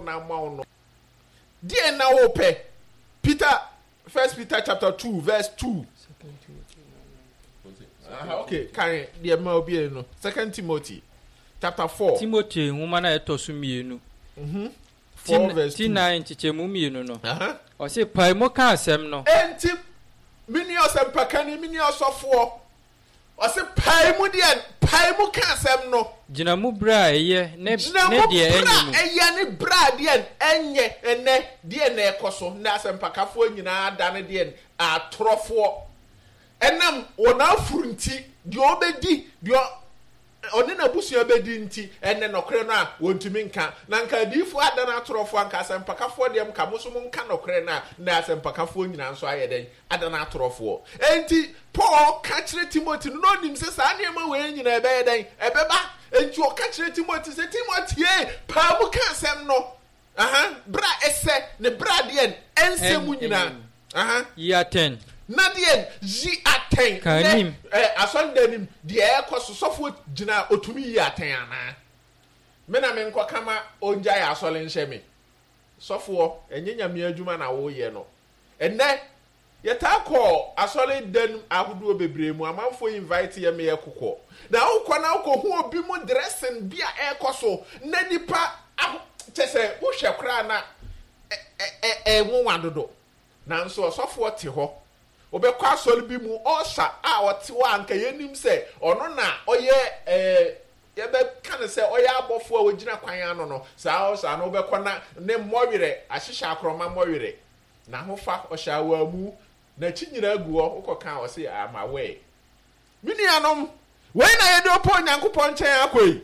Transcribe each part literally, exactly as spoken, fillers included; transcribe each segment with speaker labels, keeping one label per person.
Speaker 1: no ama wo no, deɛ na wopɛ? Peter, First Peter chapter two verse two. Uh, okay, kan deɛ ma obi no. Second Timothy chapter four.
Speaker 2: Timothy nwoma no a ɛtɔ so mmienu.
Speaker 1: Mm-hmm. Four verse
Speaker 2: two. Ti nan nkyekyɛmu mmienu no.
Speaker 1: Uh-huh.
Speaker 2: Ɔse pae mu ka asɛm no.
Speaker 1: Enti me nua ɔsɛmpakani, me nua ɔsɔfoɔ, ɔse pae mu deɛ, pae mu ka asɛm no.
Speaker 2: Gyina mu berɛ a ɛyɛ ne
Speaker 1: Gyina
Speaker 2: ne
Speaker 1: mu
Speaker 2: deɛ
Speaker 1: berɛ
Speaker 2: ɛnyɛ
Speaker 1: a
Speaker 2: mu.
Speaker 1: ɛyɛ ne berɛ a deɛ ɛnyɛ. Ɛnɛ deɛ na ɛkɔ so nnɛ, asɛmpakafoɔ nyinaa da ne deɛ atorɔfoɔ. Ɛnam wɔn afuru nti, deɛ ɔbɛdi, deɛ ɔne n'abusua bɛdi nti, ɛnɛ nɔkorɛ no a wɔntumi nka. Na nka adiyifoɔ ada no atorɔfoɔ, anka asɛmpakafoɔ deɛ nka mo nso monka nɔkorɛ no a, nnɛ asɛmpakafoɔ nyinaa nso ayɛ dɛn? Ada no atorɔfoɔ. Enti Paul ka kyerɛ Timothy no, na ɔnim sɛ saa nneɛma wei nyinaa ɛbɛyɛ dɛn? Ɛbɛba. Enti ɔka kyerɛ Timothy sɛ, Timothy, paa mu ka asɛm no. Aha, berɛ a ɛsɛ ne berɛ a deɛ ɛnsɛ mu nyinaa. Aha.
Speaker 2: Yi atɛn.
Speaker 1: Na deɛ yi atɛn.
Speaker 2: Ka anim.
Speaker 1: Ɛ asɔredan nim deɛ ɛkɔ so, sɔfoɔ gyina a ɔtumi yi atɛn anaa? Me na menkɔka ma ɔngyae asɔre nhyɛ me. Sɔfoɔ, ɛnyɛ Nyame adwuma na woyɛ no. Ɛnnɛ, yɛtaa kɔ asɔredan ahodoɔ bebree mu, amanfoɔ invite yɛ ma yɛkokɔ. Na wokɔ na wokɔhu obi mu dressing bi a ɛrekɔ so, na nipa aho, kyɛ sɛ wohwɛ koraa na ɛnwonwa dodo. Nanso ɔsɔfoɔ te hɔ, wobɛkɔ asɔre bi mu, ɔɔsa a ɔte hɔ a anka yɛnim sɛ ɔno na ɔyɛ ɛɛ yɛbɛka no sɛ ɔyɛ abɔfoɔ a wɔgyina kwan ano no, saa ɔsa no wobɛkɔ na ne mmɔwerɛ ahyehyɛ akorɔma mmɔwerɛ, n'ahofa ɔhyɛ awaamu, n'akyi nyinaa gu hɔ, wokɔka a ɔse I'm aware. Me nuanom, wei na yɛde ɔpɔ Onyankopɔn nkyɛn akɔ yi.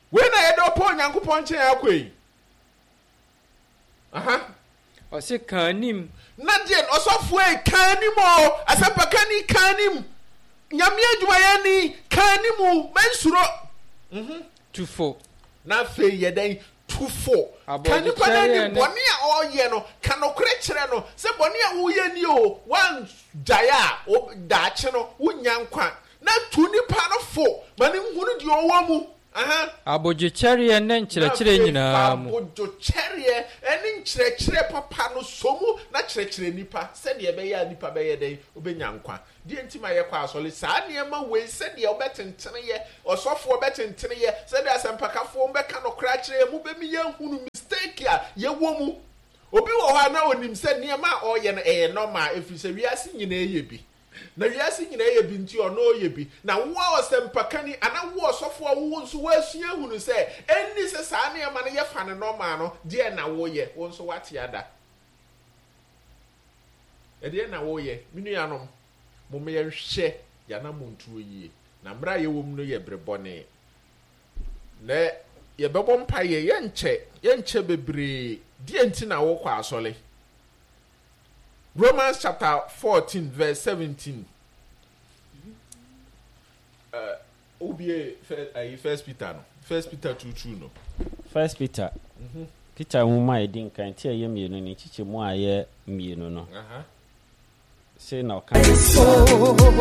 Speaker 1: Wei na yɛde ɔpɔ Onyankopɔn nkyɛn akɔ yi. Aha.
Speaker 2: Ɔse ka anim.
Speaker 1: Na deɛ ɔsɔfoɔ yi ka anim o, asɛmpakani ka anim, Nyame adwumayɛni ka anim, mɛnsuro. Mhm.
Speaker 2: Tu fo.
Speaker 1: Na afei yɛ dɛn? Tu fo. Ka nipa no anim, bɔne a ɔreyɛ no, ka nokorɛ kyerɛ no sɛ bɔne a woreyɛ nie o, woangyae a, daakye no wonnya nkwa. Na tu nipa no fo ma no nhunu deɛ ɔwɔ mu. Aha.
Speaker 2: Abodwokyɛreɛ ne nkyerɛkyerɛ nyinaa mu.
Speaker 1: Na afei fa abodwokyɛreɛ ne nkyerɛkyerɛ papa no sɔ mu na kyerɛkyerɛ nnipa sɛdeɛ ɛbɛyɛ a nnipa bɛyɛ dɛn? Wobɛnya nkwa. Deɛ nti ma yɛkɔ asɔre? Saa nneɛma wei, sɛdeɛ wobɛtentene yɛ, ɔsɔfoɔ bɛtentene yɛ, sɛdeɛ asɛmpakafoɔ bɛka nokorɛ akyerɛ yɛn, mobɛmi yɛahunu mistake a yɛwɔ mu. Obi wɔ hɔ a na ɔnim sɛ nneɛma a ɔreyɛ no ɛyɛ normal, ɛfiri sɛ wiase nyinaa yɛ bi. Na wiase nyinaa yɛ bi nti ɔno ɔyɛ bi. Na wo a ɔsɛmpakani anaa wo ɔsɔfoɔ a wo nso woasua ahunu sɛ ɛnni sɛ saa nneɛma no yɛfa no normal no, deɛn na woyɛ? Wo nso woate ada. Ɛdeɛn na woyɛ? Me nuanom, momma yɛnhwɛ yɛn anammɔntuo yie. Na mmerɛ a yɛwɔ mu no yɛ bere bɔne. Na yɛbɛbɔ mpaeɛ, yɛnkyɛ, yɛnkyɛ bebree. Deɛn nti na wokɔ asɔre? Romans chapter fourteen verse seventeen. Uh, wobie ayi First Peter no, First Peter two two no.
Speaker 3: First Peter, mm-hmm. Peter nwoma a ɛdi nkan ti a ɛyɛ mmienu ne nkyekyɛmu a ɛyɛ mmienu no. Sei na ɔka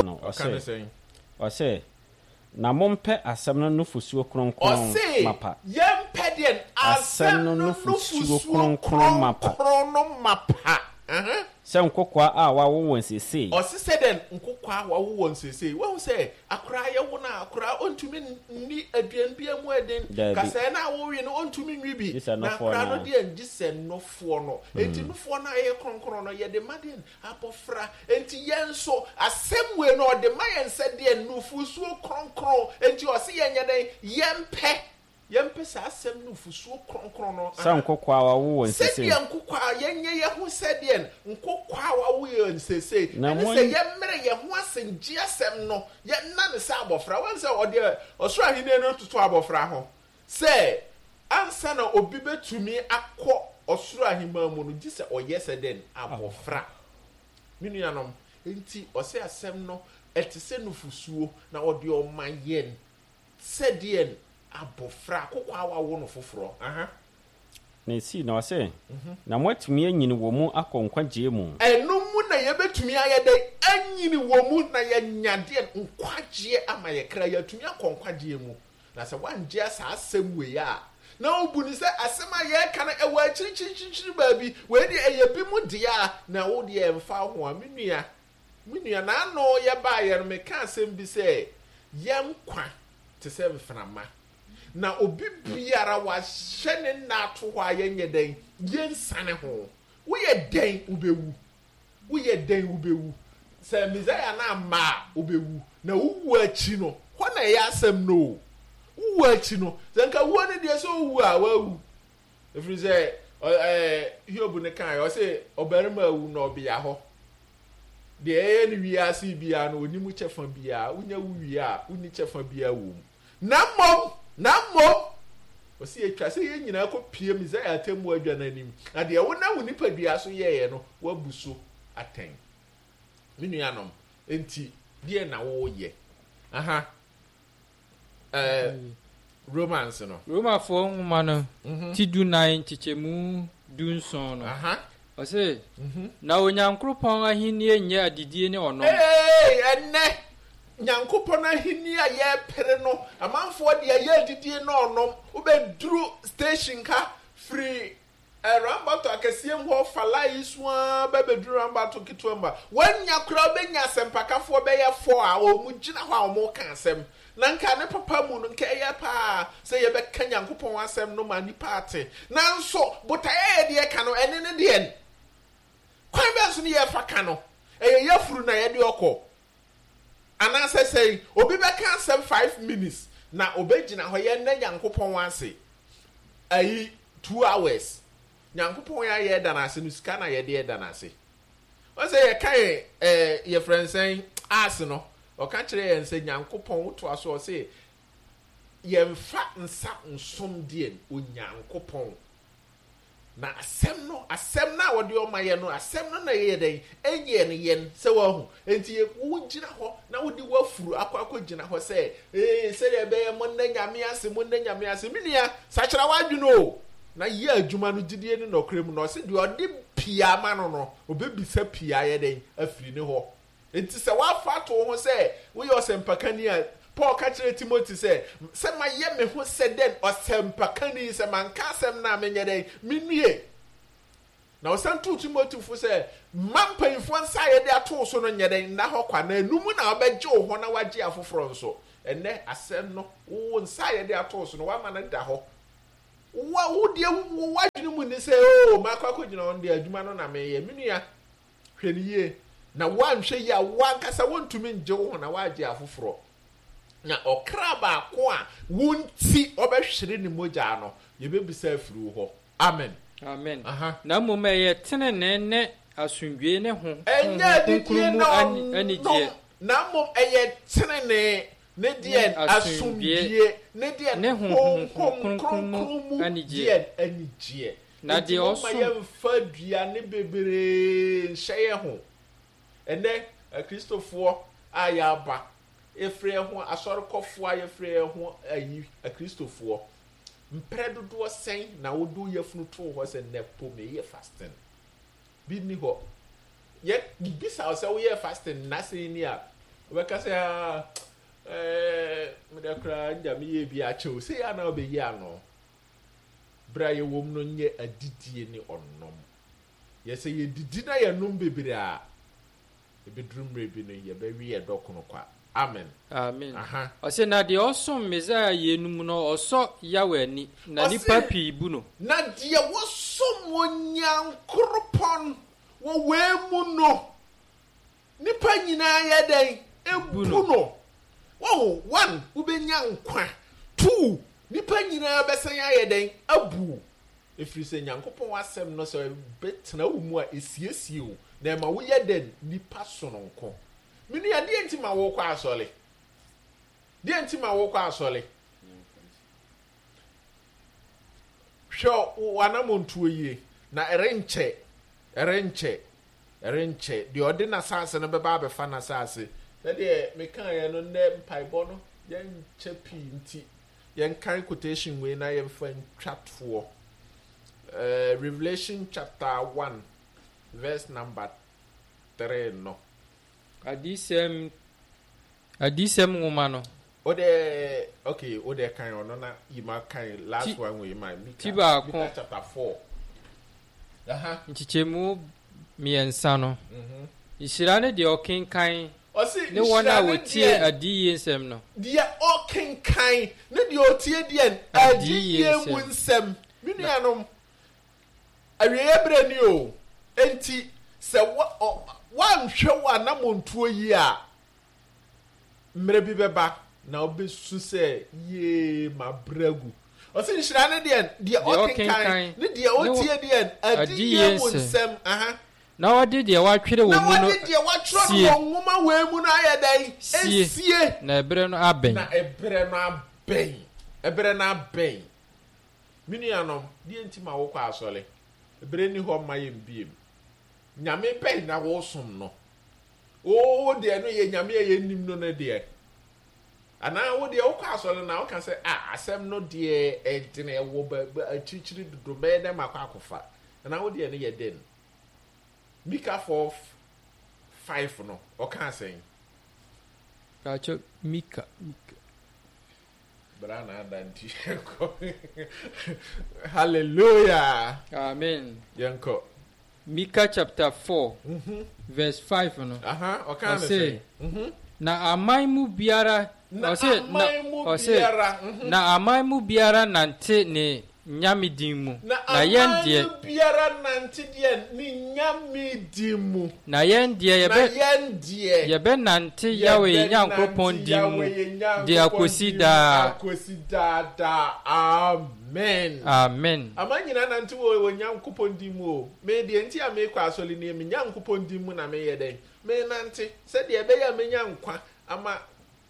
Speaker 3: no, ɔse, ɔse, na mompɛ asɛm no nufosuo kronkron
Speaker 1: Ɔse,
Speaker 3: mapa.
Speaker 1: yɛmpɛ deɛ
Speaker 3: Asɛm no nufosuo kronkron mapa.
Speaker 1: Kronkron no mapa. Uh-huh.
Speaker 3: Sɛ nkokoaa a wɔawo wɔn seesei.
Speaker 1: Ɔse sɛ dɛn? Nkokoaa a wɔawo wɔn seesei. Woahu sɛ akoraa yɛwo no a, akoraa ɔntumi nni aduan bi a emu yɛ den.
Speaker 3: Daabi.
Speaker 1: Kasɛɛ no a wowe no, ɔntumi nwe bi.
Speaker 3: Gye sɛ
Speaker 1: Na
Speaker 3: nofoɔ
Speaker 1: akoraa
Speaker 3: no
Speaker 1: no
Speaker 3: a.
Speaker 1: deɛ, gye sɛ nofoɔ no. Enti nofoɔ no a ɛyɛ kronkron no, yɛde ma deɛn? Abɔfra. Enti yɛn nso, asɛm wei no, ɔde ma yɛn sɛ deɛn? Nufosuo kronkron. Enti ɔse yɛnyɛ dɛn? Yɛmpɛ. Yɛmpɛ saa asɛm nufosuo kronkron no.
Speaker 3: Sɛ nkokoaa a wɔawo wɔn seesei.
Speaker 1: Sɛdeɛ nkokoaa, yɛnyɛ yɛn ho sɛdeɛ nkokoaa a wɔawo yɛn seesei.
Speaker 3: Na
Speaker 1: Ɛne
Speaker 3: mo.
Speaker 1: sɛ yɛmmrɛ yɛn ho ase ngye asɛm no, yɛnna no sɛ abɔfra. Woahu sɛ ɔde ɔsoro ahennie no toto abɔfra ho, sɛ ansa na obi bɛtumi akɔ ɔsoro ahemman mu no, gye sɛ ɔyɛ sɛ dɛn? Abɔfra. Me nuanom, enti ɔse asɛm no, ɛte sɛ nufosuo, na ɔde ɔma yɛn sɛdeɛ abɔfra, akokoaa a wɔawo no foforɔ. Aha.
Speaker 3: Na esii na ɔse, Na moatumi anyini wɔ mu akɔ nkwagyeɛ mu.
Speaker 1: Ɛno mu na yɛbɛtumi ayɛ dɛn? Anyini wɔ mu na yɛanya deɛn? Nkwagyeɛ ama yɛn kra. Yɛatumi akɔ nkwagyeɛ mu. Na sɛ woangye saa asɛm wei a, Na wobu no sɛ asɛm a yɛreka no ɛwɔ akyirikyirikyirikyiri baabi, wei deɛ ɛyɛ bi mu dea a, na wo deɛ ɛmfa wo ho a, me nua, me nua, n'ano yɛbaeɛ no meka asɛm bi sɛ, yɛn nkwa te sɛ mframa, na obi biara wahyɛ ne nna ato hɔ a yɛnyɛ dɛn, yɛnsane ho. Woyɛ dɛn wobɛwu? Woyɛ dɛn wobɛwu? Sɛ Mesaia no amma a, wobɛwu. Na wowu akyi no, hɔ na ɛyɛ asɛm no o. Wowu akyi no, sɛ nka wuo no deɛ sɛ owu a, wawu. Ɛfiri sɛ, ɛɛ, Hiob no kaeɛ, ɔse ɔbarima awu na ɔbea hɔ. Deɛ ɛyɛ no wiase biara no, ɔnni mu kyɛfa biara. Wonya wu wie a, wonni kyɛfa biara wɔ mu. Na mmom, na mmom, ɔse ɛtwa sɛ yɛn nyinaa kɔpue Mesaia atemmuo adwa no anim, na deɛ wonam wo nipadua so yɛeɛ no, woabu so atɛn. Me nuanom, enti deɛn na woreyɛ? Aha, eh, Romans no.
Speaker 2: Romafoɔ nwoma no mhm. ti du nan nkyekyɛmu du nson no. Aha. Ɔse, mhm. na Onyankoropɔn ahennie nyɛ adidie ne ɔnom.
Speaker 1: Ee, ɛnnɛ, Nyankopɔn ahennie a yɛrepere no, amanfoɔ de ayɛ adidie ne ɔnom. Wobɛduru station ha firi Rambato akɛseɛ mu hɔ fa line yi so ara ba bɛduru Rambato ketewa mu a, woannya koraa wobɛnya asɛmpakafoɔ bɛyɛ four a wɔn gyina hɔ a wɔreka asɛm. Na nka ne papa mu no, nka ɛyɛ paa sɛ yɛbɛka Nyankopɔn asɛm no ma nnipa ate. Nanso botaeɛ a yɛde reka no, ɛne ne deɛn? Kwan bɛn so ne yɛrefa ka no? Ɛyɛ yafunu na yɛde ɔkɔ? Anaasɛ sɛn? Obi bɛka asɛm five minutes na ɔbɛgyina hɔ yɛnna Nyankopɔn ase ayi two hours. Nyankopɔn a yɛda no ase no sika na yɛde ɛda no ase. Wɔn sɛ yɛka yɛn ɛɛ yɛfrɛ nsɛn ase no, ɔka kyerɛ yɛn sɛ Nyankopɔn wotoa so ɔse yɛmfa nsa nsom deɛ Onyankopɔn. Na asɛm no, asɛm no a wɔde ɔma yɛn no, asɛm no na ɛyɛ dɛn? Ɛyɛ no yɛn, sɛ woahu. Enti wogyina hɔ na wode w'afuru akɔ akɔgyina hɔ sɛ, ee, sɛdeɛ ɛbɛyɛ monna Nyame ase, monna Nyame ase. Me nua, sakyera w'adwene o, na yɛ adwuma no gyidie ne nɔkorɛ mu. Na ɔse deɛ ɔde pii ama no no, ɔbɛbisa pii ayɛ dɛn? Afiri ne hɔ. Enti sɛ woafa ato wo ho sɛ woyɛ ɔsɛmpakani a, Paul ka kyerɛɛ Timothy sɛ, Sɛ mayɛ me ho sɛ dɛn ɔsɛmpakani, sɛ manka asɛm no a, menyɛ dɛn? Minnue! Na ɔsan tuu Timothy fo sɛ, Mma mpanyimfoɔ nsa a yɛde ato wo so no nyɛ dɛn? Nna hɔ kwa, na ɛno mu na wobɛgye wo ho na woagye afoforɔ nso. Ɛnnɛ, asɛm no, wo nsa a yɛde ato wo so no, woama no da hɔ. Wo, wo deɛ, wo w'adwene mu ne sɛ, Oo, makɔ akɔgyina hɔ no deɛ, adwuma no na meyɛ. Me nua, Hwɛ no yie, na woanhwɛ yie a, wo ankasa wontumi ngye wo ho na woagye afoforɔ. Na ɔkra baako a wo nti ɔbɛhwere ne mogya no, yɛbɛbisa afiri wo hɔ. Amen.
Speaker 2: Amen. Aha. Na mmom ɛyɛ tenenee ne asomdwoe ne ho
Speaker 1: Ɛnyɛ
Speaker 2: Honhom
Speaker 1: adidie
Speaker 2: Kronkron mu
Speaker 1: na
Speaker 2: ani
Speaker 1: ɔnom,
Speaker 2: anigyeɛ.
Speaker 1: na mmom ɛyɛ tenenee ne
Speaker 2: Ne
Speaker 1: deɛn?
Speaker 2: asomdwoeɛ
Speaker 1: Asomdwoeɛ ne deɛn?
Speaker 2: ne Honhom
Speaker 1: Honhom
Speaker 2: Kronkron mu
Speaker 1: Kronkron mu
Speaker 2: anigyeɛ.
Speaker 1: deɛn? Anigyeɛ.
Speaker 2: Na
Speaker 1: Enti
Speaker 2: deɛ
Speaker 1: momma
Speaker 2: ɔsom.
Speaker 1: yɛmfa aduane bebree nhyɛ yɛn ho. Ɛnnɛ, Akristofoɔ a yɛaba, yɛfrɛ yɛn ho asɔrekɔfoɔ a yɛfrɛ yɛn ho ayi, Akristofoɔ, mprɛ dodoɔ sɛn na wode wo yafunu too hɔ sɛ nnɛ po meyɛ fasting? Bi nni hɔ. Yɛbisa wo sɛ woyɛɛ fasting nna sɛn ni a, wobɛka sɛ, ah, ɛɛ, medeɛ koraa ngya meyɛɛ bi akyɛ o. Sei ara na wobɛyi ano. Bere a yɛwom no nyɛ adidie ne ɔnom. Yɛ sɛ yɛdidi na yɛnom bebree a, ɛbɛduru mmerɛ bi no yɛbɛwe yɛn dɔkono kwa. Amen.
Speaker 2: Amen.
Speaker 1: Aha.
Speaker 2: Ɔse, na deɛ ɔsom Mesaia yeinom no, ɔsɔ Yahweh ani, na nnipa
Speaker 1: Ɔse,
Speaker 2: pii bu no.
Speaker 1: na deɛ wɔsom Onyankoropɔn wɔ wei mu no, Nnipa nyinaa yɛ dɛn?
Speaker 2: Bu
Speaker 1: Bu
Speaker 2: no.
Speaker 1: no. Wahu? One, wobɛnya nkwa. Two, nnipa nyinaa bɛsan ayɛ dɛn? Abu wo. Ɛfiri sɛ Nyankopɔn asɛm no sɛ ɛbɛtena wo mu a, ɛsiesie wo, na ɛma woyɛ dɛn? Nipa sononko. Me nua, deɛ nti ma wokɔ asɔre? Deɛ nti ma wokɔ asɔre? Hwɛ w'anammɔntuo yie, na ɛrenkyɛ, ɛrenkyɛ. Ɛrenkyɛ, deɛ ɔde n'asase no bɛba abɛfa n'asase. Sɛdeɛ mekaeɛ no, nnɛ mpaebɔ no, yɛnkyɛ pii nti, yɛnkan quotation wei na yɛmfa ntwa toɔ. Uh, Revelation chapter one, verse number three no.
Speaker 2: Adiyisɛm, Adiyisɛm nwoma no,
Speaker 1: Ode okay, ode kan ono na yima kan last one we ma Mika. Mika chapter four. Aha.
Speaker 2: Nchichemu miensa no. Mhm. Nhyira ne deɛ ɔkenkan
Speaker 1: ne
Speaker 2: wɔn a wɔtie adiyie nsɛm no.
Speaker 1: Deɛ ɔkenkan ne deɛ ɔtie deɛ adiyie mu nsɛm. Me nuanom, awieeɛ berɛ ni o. Enti sɛ woanhwɛ wo anammɔntuo yi a, mmerɛ bi bɛba na wobɛsu sɛ yee mabrɛ agu. Ɔse nhyira ne deɛ deɛ ɔkenkan ne deɛ ɔtie deɛ adiyie mu nsɛm. Aha.
Speaker 2: Na wɔde deɛ wɔatwerɛ wɔ mu no
Speaker 1: Na wɔde deɛ wɔatwerɛ no wɔ nwoma wei mu no ayɛ dɛn?
Speaker 2: Sie.
Speaker 1: Esie.
Speaker 2: Na ɛberɛ no abɛn.
Speaker 1: Na ɛberɛ no abɛn. Ɛberɛ no abɛn. Me nuanom, deɛ nti ma wokɔ asɔre? Ɛberɛ ni hɔ mma yɛn biem. Nyame bɛn na wosom no? Wo deɛ no yɛ nyame a yɛnnim no no deɛ. Anaa wo deɛ wokɔ asɔre na woka sɛ, ah, asɛm no deɛ ɛdene ɛwɔ akyirikyiri dodo, mɛyɛ dɛn makɔ akɔfa? Anaa wo deɛ no yɛ dɛn? Mika four five no ɔka asɛn.
Speaker 2: Kakyɛ Mika Mika.
Speaker 1: Bra na ada nti yɛnkɔ. Hallelujah.
Speaker 2: Amen.
Speaker 1: Yɛnkɔ.
Speaker 2: Mika chapter four mm-hmm. verse five no.
Speaker 1: Aha, ɔka ne sɛ. Mm-hmm.
Speaker 2: Na aman mu biara
Speaker 1: na aman mu biara
Speaker 2: na aman mu biara nante ne nyame din mu.
Speaker 1: Na aman mu biara nante deɛ ne nyame din mu.
Speaker 2: Na yɛn deɛ
Speaker 1: yɛbɛ na yɛn deɛ
Speaker 2: yɛbɛnante Yahweh Nyankopɔn din mu de akosi daa.
Speaker 1: Akosi daa daa. Amen.
Speaker 2: Amen.
Speaker 1: Aman nyinaa nante wɔ wɔ Nyankopɔn din mu o. Me deɛ nti a mekɔ asɔre nie, me Nyankopɔn din mu na meyɛ dɛn? Menante sɛdeɛ ɛbɛyɛ a menya nkwa ama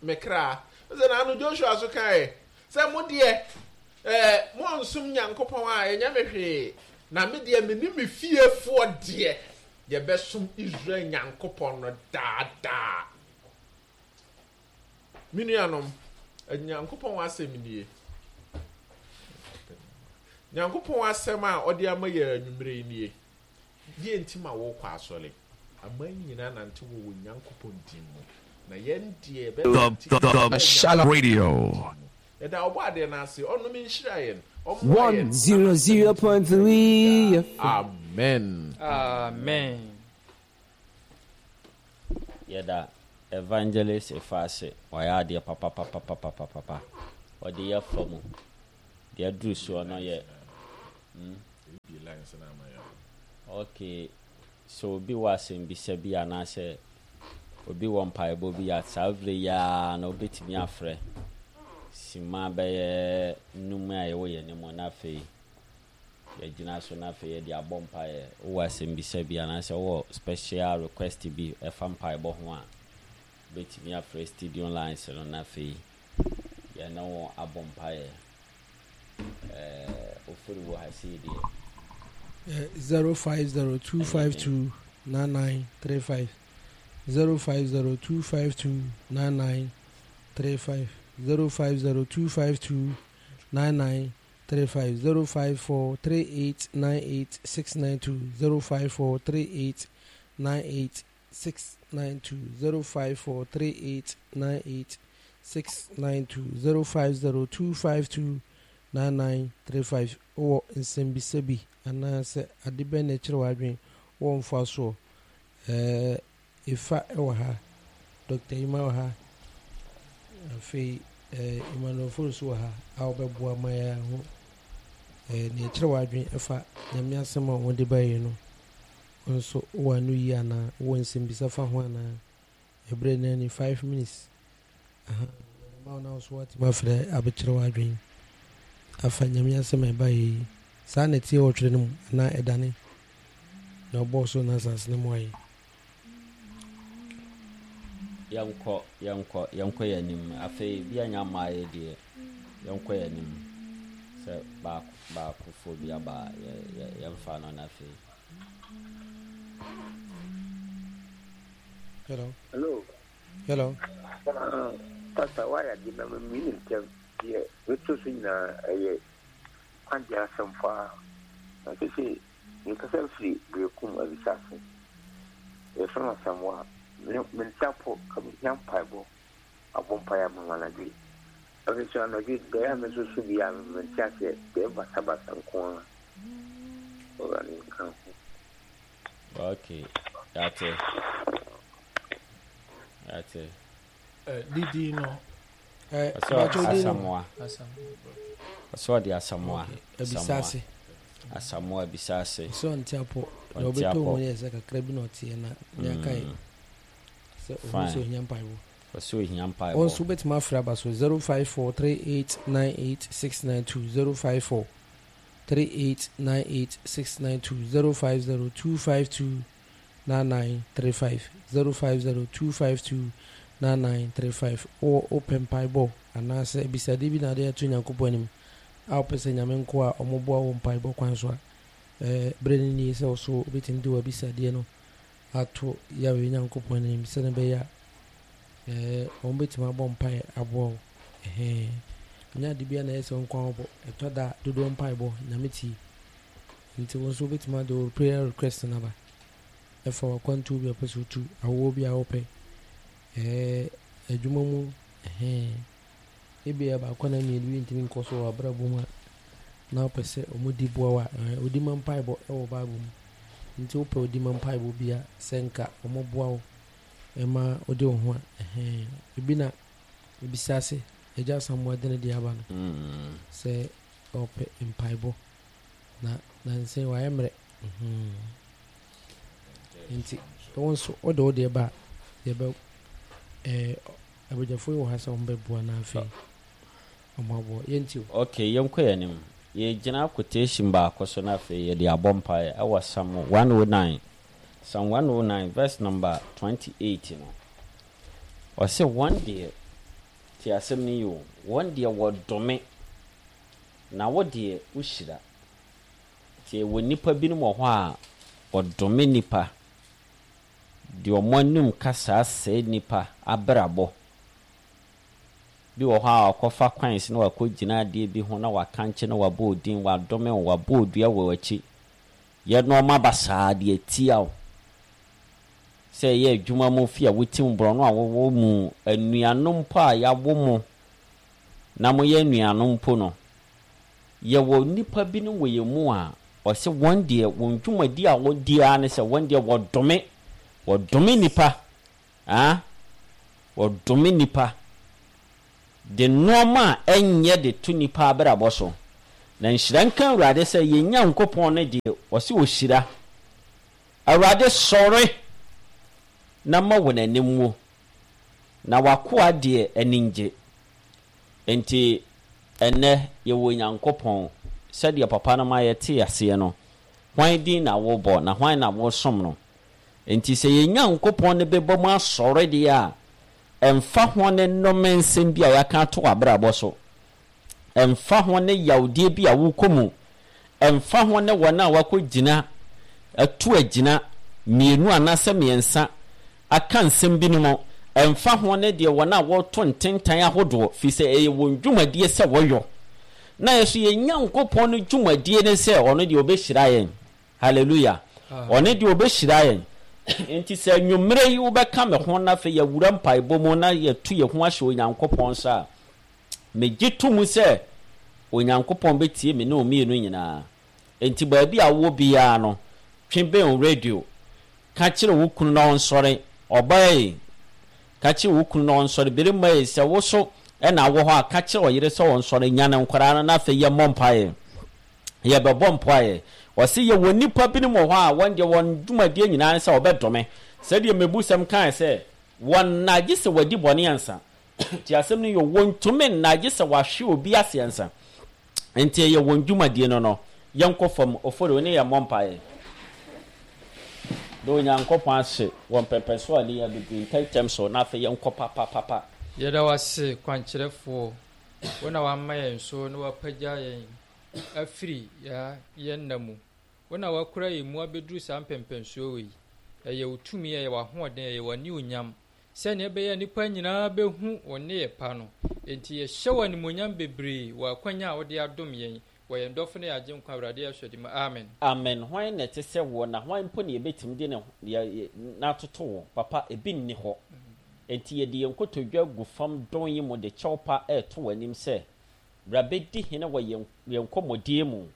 Speaker 1: me kra. Sɛ na ano Joshua so kae sɛ mo deɛ eh, monsom Nyankopɔn a ɛnyɛ me hwee, na me deɛ me ne me fiefoɔ deɛ yɛbɛsom Israel Nyankopɔn no daadaa. Me nuanom, Nyankopɔn asɛm nie. Nyankopɔn asɛm a ɔde ama yɛ anwummerɛ yi nie. Deɛ nti ma wɔkɔ asɔre. Aman nyinaa nante wɔ wɔ Nyankopɔn din mu. Na yɛn deɛ
Speaker 4: The, the Shalom Radio.
Speaker 1: Yɛda ɔbɔ adeɛ no ase, ɔnom nhyira yɛn.
Speaker 5: One zero zero point three.
Speaker 1: Amen.
Speaker 2: Amen.
Speaker 3: Yɛda Evangelist Efase wayɛ adeɛ papapapapapapa. Ɔde yɛ fa mu. Deɛ aduru soɔ no yɛ. Hmm? Okay. So obi wɔ asɛmbisa bi anaasɛ obi wɔ mpaebɔ bi a saa berɛ yi ara na wobɛtumi afrɛ sima bɛyɛ num a yɛwɔ yɛn anim na afei yɛgyina so na afei yɛde abɔ mpaeɛ. Wowɔ asɛmbisa bi anaasɛ wowɔ special request bi ɛfa mpaebɔ ho a wobɛtumi afrɛ studio lines no na afei yɛne wo abɔ mpaeɛ. Ɛɛ ofiri wɔ ha sei deɛ.
Speaker 6: Zero five zero two five two nine nine three five zero five zero two five two nine nine three five zero five zero two five two nine nine three five zero five four three eight nine eight six nine two zero five four three eight nine eight six nine two zero five four three eight nine eight six nine two zero five zero two five two nine nine three five. Wɔ nsɛmbisa bi anaasɛ ade bɛn na ɛkyerɛ w'adwene wɔ mfa soɔ ɛɛ efa ɛwɔ ha, Doctor Ima wɔ ha, afei ɛɛ Emmanuel Fosu wɔ ha a wɔbɛboa ma yɛn ho ɛɛ nea ɛkyerɛ w'adwene ɛfa Nyame asɛm a wɔde ba yi no nso wɔ ano yi anaa wɔ nsɛmbisa fa ho anaa ɛbrɛ na ni five minutes aha ma wɔn nso wɔatumi afrɛ abɛkyerɛ w'adwene afa Nyame asɛm a ɛba yi saa na ɛteɛ wɔ twerɛ no mu anaa ɛdane na ɔbɔɔ so na asase no mu ayɛ.
Speaker 3: Yɛnkɔ yɛnkɔ yɛnkɔ yɛn anim. Afei bi anya mmaa yɛ deɛ yɛnkɔ yɛn anim sɛ baako baakofoɔ bi aba yɛ yɛ yɛmfa no na afei.
Speaker 6: Hello.
Speaker 7: Hello.
Speaker 6: Hello.
Speaker 7: Uh, Pastor, why are you not meaning them? Yeah, we two sing a kwagye asɛm fa na sese mekasa firi Berekum Avisase. Yɛfrɛ no Asamoah. Mente apɔ ka mehia mpaebɔ abɔ mpaeɛ ama me anadwo yi. Afei so anadwo deɛ a me nso so bi a mente aseɛ deɛ basabasa nko ara. Awurade nka ho.
Speaker 3: Okay, yate. Yate.
Speaker 1: Didi no.
Speaker 6: Eh,
Speaker 3: Asamoah. Ɔsɛ ɔde Asamoah.
Speaker 6: Ebisase.
Speaker 3: Asamoah Ebisase.
Speaker 6: So ɔnte apɔ. Na ɔbɛtɔ mu yɛ sɛ kakra bi na ɔteɛ na ne aka yi. Sɛ ɔhu sɛ ohia mpaebɔ.
Speaker 3: Ɔsɛ ohia mpaebɔ.
Speaker 6: Wɔn nso bɛtumi afrɛ aba so zero five four three eight nine eight six nine two zero five four three eight nine eight six nine two zero five zero two five two nine nine three five zero five zero two five two nine nine three five. Wɔ wopɛ mpaebɔ anaasɛ ebisade bi na ade ato Nyankopɔn anim a wopɛ sɛ Nyame nko a ɔmoboa wɔ mpaebɔ kwan so a, ɛɛ bere no nie sɛ wo so wobɛtumi de w'abisadeɛ no ato Yahweh Nyankopɔn anim sɛne bɛyɛ a ɛɛ wɔn bɛtumi abɔ mpae aboa wo. Ɛhɛn nyɛ ade bia na ɛyɛ sɛ wo nkwa wobɔ ɛtɔ da dodoɔ mpaebɔ Nyame tie, nti wo nso wobɛtumi ade wo prayer request no aba ɛfa w'akwantuo bi a wopɛ sɛ wotu, awoɔ bi a wopɛ, ɛɛ adwuma mu, ɛhɛn ebi a baako na mmienu bi ntumi nkɔ so wɔ abrabɔ mu a na wopɛ sɛ ɔmo di boa wo a, ɛɛ odi ma mpaebɔ ɛwɔ Bible mu, nti wopɛ odi ma mpaebɔ bi a sɛ nka ɔmo boa wo ɛma wode wo ho a, ɛhɛn ebi na ebisa ase Agya Asamoah de ne de aba no sɛ ɔpɛ mpaebɔ na nansɛn wayɛ mmerɛ, nti wɔn nso wode wo deɛ ba a yɛbɛ ɛɛ abadwafoɔ yi wɔ ha sɛ wɔn bɛboa na afei wɔn aboa yɛnti o.
Speaker 3: Okay, yɛnkɔ yɛn anim. Yɛgyina quotation baako so na afei yɛde abɔ mpaeɛ ɛwɔ Psalm one oh nine. Psalm one oh nine verse number twenty-eight no. Ɔsɛ wɔn deɛ te asɛm no yi o, wɔn deɛ wɔdome na wo deɛ wohyira. Nti wɔ nnipa binom wɔ hɔ a wɔdome nnipa, deɛ ɔmo anim kasa asɛe nnipa abrabɔ. Bi wɔ hɔ a ɔkɔfa kwan so na wakɔgyina adeɛ bi ho na wakankye na wabɔ odin, wadome wo, wabɔ odua wɔ w'akyi. Yɛ nneɛma basaa deɛ tia wo. Sɛ ɛyɛ adwuma mu fi a wotim borɔno a wɔwɔ mu, anuanom mpo a yɛawo mo na moyɛ anuanom mpo no, yɛwɔ nnipa binom wɔ yɛn mu a ɔsɛ wɔn deɛ wɔn dwumadi a wɔdi ara ne sɛ wɔn deɛ wɔdome, wɔdome nnipa, ah, wɔdome nnipa de nneɛma a ɛnyɛ de to nnipa abrabɔ so. Na nhyira nka Awurade sɛ yɛn Nyankopɔn no deɛ ɔsɛ ɔhyira. Awurade sɔre na ma wɔn anim wo, na w'akoa deɛ ani ngye. Nti ɛnnɛ yɛwɔ Nyankopɔn sɛdeɛ papa no ma yɛte aseɛ no, hwan din na wobɔ na hwan na wosom no? Nti sɛ yɛn Nyankopɔn no bɛbɔ mu asɔre deɛ a, ɛmfa ho ne nnome nsɛm bi a yɛaka ato w'abrabɔ so, ɛmfa ho ne yawdeɛ bi a wokɔ mu, ɛmfa ho ne wɔn a wakɔgyina atu agyina mmienu anaasɛ mmiɛnsa aka nsɛm binom, ɛmfa ho ne deɛ wɔn a wɔto ntentan ahodoɔ, firi sɛ ɛyɛ wɔn dwumadie sɛ wɔyɔ. Na yɛ so yɛn Nyankopɔn no dwumadie ne sɛ ɔno deɛ ɔbɛhyira yɛn. Hallelujah. Ɔno deɛ ɔbɛhyira yɛn. Nti sɛ nnwummerɛ yi wobɛka me ho na afei yɛwura mpaebɔ mu na yɛtu yɛn ho ahyɛ Onyankopɔn nsa a, megye to mu sɛ Onyankopɔn bɛtie me ne wo mmienu nyinaa. Nti baabi a wowɔ biara no, twe bɛn wo radio, ka kyerɛ wo kunu na ɔnsɔre. Ɔbaa yi, ka kyerɛ wo kunu na ɔnsɔre. Barima yi, sɛ wo so ɛna wɔ hɔ a, ka kyerɛ ɔyere sɛ ɔnsɔre. Nyane nkwadaa no na afei yɛmmɔ mpaeɛ. Yɛbɛbɔ mpaeɛ. Ɔse yɛwɔ nnipa binom wɔ hɔ a wɔn deɛ wɔn dwumadie nyinaa ne sɛ wɔbɛdome. Sɛdeɛ mmebusɛm kae sɛ wɔn nna gye sɛ wɔadi bɔne ansa. Nti asɛm no yɛ wɔntumi nna gye sɛ wɔahwe obi ase ansa. Nti ɛyɛ wɔn dwumadie no no. Yɛnkɔ fam, Ofori, wo ne yɛn mmɔ mpaeɛ. Na Onyankopɔn ase wɔ mpɛmpɛnso a ne yɛ abɛduru ntɛmntɛm so na afei yɛnkɔ papapapa.
Speaker 2: Yɛda wo ase kwankyerɛfoɔ, wo na wama yɛn so na wapagya yɛn afiri yɛn nna mu. Wo na wakura yɛn mu abɛduru saa mpɛmpɛnsoɔ wei. Ɛyɛ wo tumi, ɛyɛ w'ahoɔden, ɛyɛ w'anionyam, sɛnea ɛbɛyɛ nnipa nyinaa bɛhu wo nneyɛ pa no. Enti yɛhyɛ wo animuonyam bebree wɔ akwanya a wode adom yɛn wɔ yɛn dɔfo ne yɛn Agyenkwa Awurade Yesu din mu. Amen.
Speaker 3: Amen. Hwan na ɛte sɛ wo, na hwan mpo na yɛbɛtumi de ne n'atoto wo? Papa, ebi nni hɔ. Enti yɛde yɛn nkotodwe agu fam dɔn yi mu de kyɛw pa reto w'anim sɛ, bra bɛdi hene wɔ yɛn yɛn nkɔmmɔdie mu.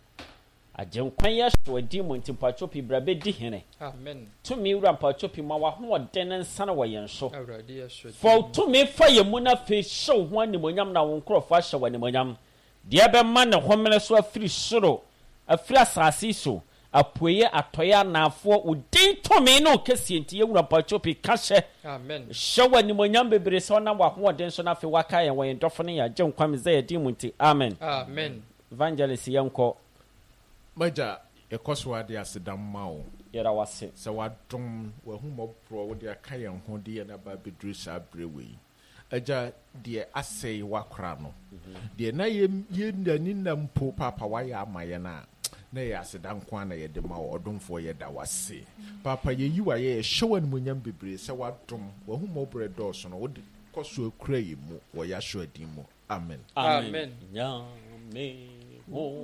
Speaker 3: Agyenkwa yi ahyɛ w'adin mu nti mpakyɛw pii bra bɛdi hene.
Speaker 2: Amen.
Speaker 3: Tumi wura mpakyɛw pii ma w'ahoɔden nsane wɔ yɛn so.
Speaker 2: Awurade yɛsɔ
Speaker 3: Fa wo tumi fa yɛn mu na afei hyɛ wo ho animuonyam na wo nkurɔfoɔ ahyɛ wo animuonyam. Deɛ ɛbɛma ne homene so afiri soro, afiri asase yi so, apueeɛ, atɔeɛ, anaafoɔ, wo din tumi ne wo kɛseɛ nti yɛwura mpakyɛw pii ka hyɛ.
Speaker 2: Amen.
Speaker 3: Hyɛ wo animuonyam bebree sɛ ɔnam w'ahoɔden so na afei waka yɛn wɔ yɛn dɔfo ne yɛn agyenkwa Mesaia din mu nti. Amen.
Speaker 2: Amen.
Speaker 3: Evangelist yɛnkɔ.
Speaker 1: Magya, yɛkɔ so ade aseda ma wo.
Speaker 3: Yɛda wase.
Speaker 1: Sɛ wadom w'ahummɔborɔ wode aka yɛn ho de yɛn aba abɛduru saa berɛ wei. Agya, deɛ asɛe wakora no, deɛ na yɛ yɛn nna mpo paapa wayɛ ama yɛn a, na yɛ aseda nko ara na yɛde ma wo. Ɔdomfoɔ, yɛda wase. Paapa, yɛyi wayɛ, yɛhyɛ wo animuonyam bebree sɛ wadom w'ahummɔborɔ dɔɔso no wode kɔ so akura yɛn mu wɔ Yahshua din mu. Amen.
Speaker 2: Amen.
Speaker 3: Nyame wo